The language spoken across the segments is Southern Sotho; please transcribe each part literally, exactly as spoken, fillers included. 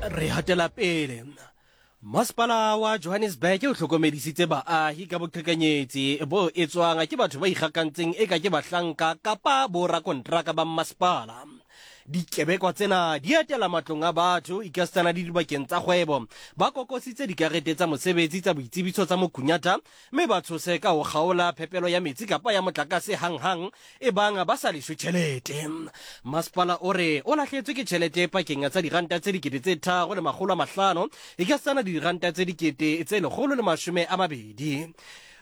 Re hatela pele. Masepala wa Johannesburg o hlokomedisitse baahi ka boqhekanyetsi bo etswang ke batho ba ikgakantseng eka ke bahlanka kapa borakontraka ba mmasepala. Dikebekwa tsena di etela matlong a batho ekasitana le dibakeng tsa kgwebo, ba kokositse dikarete tsa mosebetsi tsa boitsebiso tsa mokunyata mme ba tshose ka ho kgaola phepelo ya metsi kapa ya motlakase hanghang ebang ba sa leshwe tjhelete. Masepala o re o lahlehetswe ke tjhelete pakeng tsa diranta tse dikete tse tharo le makgolo a mahlano ekasitana le diranta tse dikete tse lekgolo le mashome a mabedi.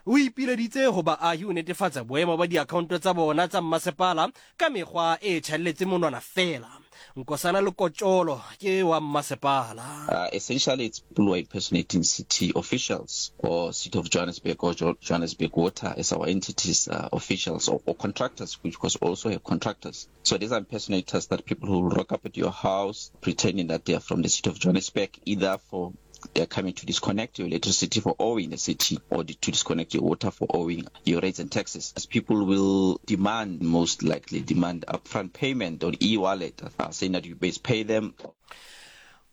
O ipileditse ho baahi ho netefatsa boemo ba diakhaonto tsa bona tsa mmasepala ka mekgwa e tjhaelletseng monwana feela. Nkosana Lekotjolo ke wa mmasepala. Uh, essentially, it's people who are impersonating city officials or City of Johannesburg or jo- Johannesburg Water as our entities, uh, officials or, or contractors, which was also have contractors. So these are impersonators that people who rock up at your house pretending that they are from the City of Johannesburg, either for they are coming to disconnect your electricity for owing the city or to disconnect your water for owing your rates and taxes. As people will demand, most likely demand upfront payment on e-wallet, uh, saying that you best pay them.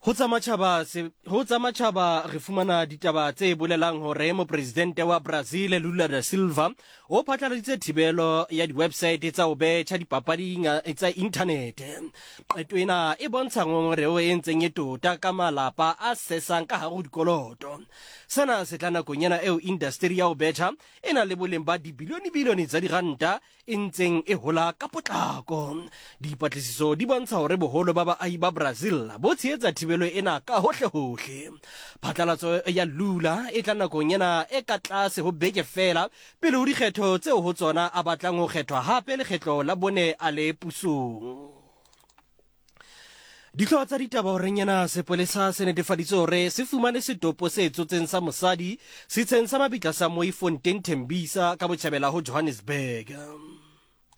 Ho tsa matjhaba se ho tsa matjhaba re fumana ditaba tse bolelang hore mopresidente wa Brazil Lula da Silva o phatlaladitse thibelo ya di-website tsa ho betjha dipapading tsa inthanete. Qeto ena e bontsha ngongoreho e ntseng e tota ka malapa a sesang ka hare ho dikoloto. Sena se tla nakong ena eo indasteri ya ho betjha e nang le boleng ba dibilione-bilione tsa diranta e ntseng e hola ka potlako. Dipatlisiso di bontsha hore boholo ba baahi ba Brazil bo tshehetsa thibelo ena ka hohle-hohle. Phatlalatso ya Lula e tla nakong ena e ka tlase ho beke feela pele ho dikgetho tseo ho tsona a batlang ho kgethwa hape lekgetlo la bone a le pusong. Dihlooho tsa ditaba horeng ena sepolesa se netefaditse hore se fumane setopo se tsotseng sa mosadi setsheng sa mabitla sa Mooifontein Tembisa ka botjhabela ho Johannesburg.